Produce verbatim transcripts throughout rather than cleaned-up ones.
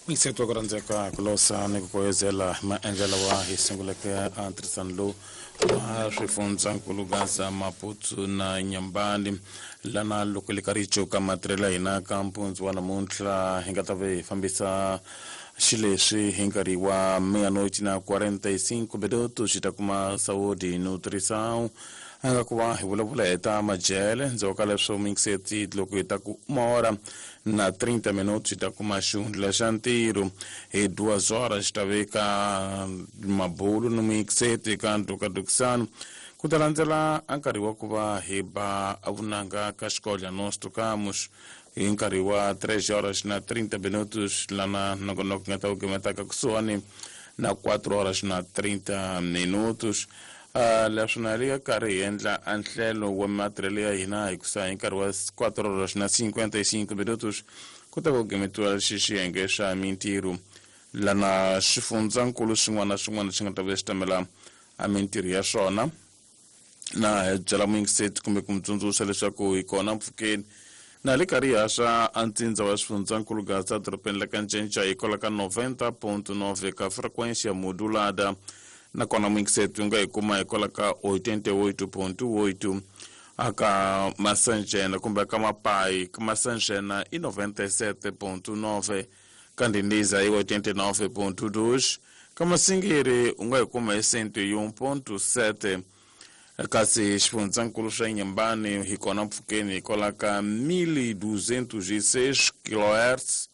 Mixeto ku rhandzeka ku losa ni ku koyezela maendlelo wa hi sunguleke a ntirhisano lowu wa swifundzankulu Gaza, Maputo na Inhambane. Lana loko li karhi yi cuka matirhelo ya hina ka mpundzu wa namuntlha hi nga ta ve hi fambisa xileswi hi nkarhi wa meia-noite na quarenta e cinco minutos xi ta kuma Saúde e Nutrição, a nga ku va hi vulavula hi ta majele. Ndzhaku ka leswo, mixeti, loko hi ta ku uma hora na trinta minutos xi ta kuma xihundla xa ntirho. Hi duas horas xi ta veka mabulu ni mixeti ka ndukadukisano. Ku ta landzela a nkarhi wa ku va hi ba vunanga ka xikodla Nós Tocamos hi nkarhi wa três horas na trinta minutos, lana nongonoko nga ta wu gimetaka kusuhani na quatro horas na trinta minutos. uh, leswi na le karhi hi endla a nhlelo wa matirhelo ya hina hi kusa hi nkarhi wa quatro horas na cinquenta e cinco minutos ku ta ku gimetiwa xi xiyenge xa mintirho, lana xifundzankulu xin'wana na xin'wana xi nga ta ve xi tamela a mintirho ya swona. Na hi byela muyingiseti kumbe ku mi tsundzuxa leswaku hi kona mpfhukeni na le karhi hi haxa a ntsindza wa xifundzankulu Gaza, dorobeni la ka Ncenca, hi kwala ka noventa ponto nove ka frequência modulada. Nakona muyingiseti u nga hi kuma hi kwala ka oitenta e oito ponto oito aka Masanjena kumbe ka Mapai. Ka Masanjena i noventa e sete ponto nove, ka Ndindiza i oitenta e nove ponto dois, ka Masingiri u nga hi kuma hi cento e um ponto sete, kasi xifundzankulu xa Inhambane hi kona mpfhukeni hi kwala ka mil duzentos e seis kilohertz,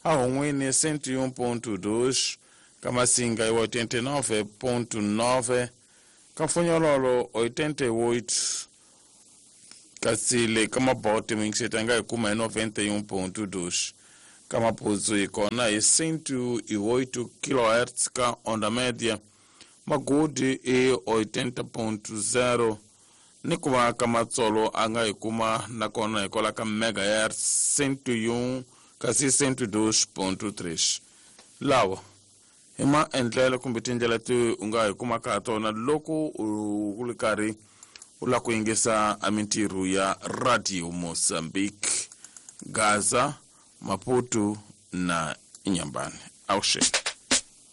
a Hon'wini cento e um ponto dois, ka Masinga i oitenta e nove ponto nove, ka Mfunyololo oitenta e oito, kasi le ka Mabote muyingiseti a nga hi kuma hi noventa e um ponto dois, ka Maputo hi kona hi cento e oito kilohertz ka onda média, Magudi i oitenta ponto zero, ni ku va ka Matsolo a nga hi kuma nakona hi kwala ka megahertz cento e um kasi cento e dois ponto três. Lawa hi maendlelo kumbe tindlela ti u nga hi kumaka ha tona loko u ri karhi u lava ku yingisa a mintirho ya Radio Mozambique, Gaza, Maputo na Inhambane. Avuxeni.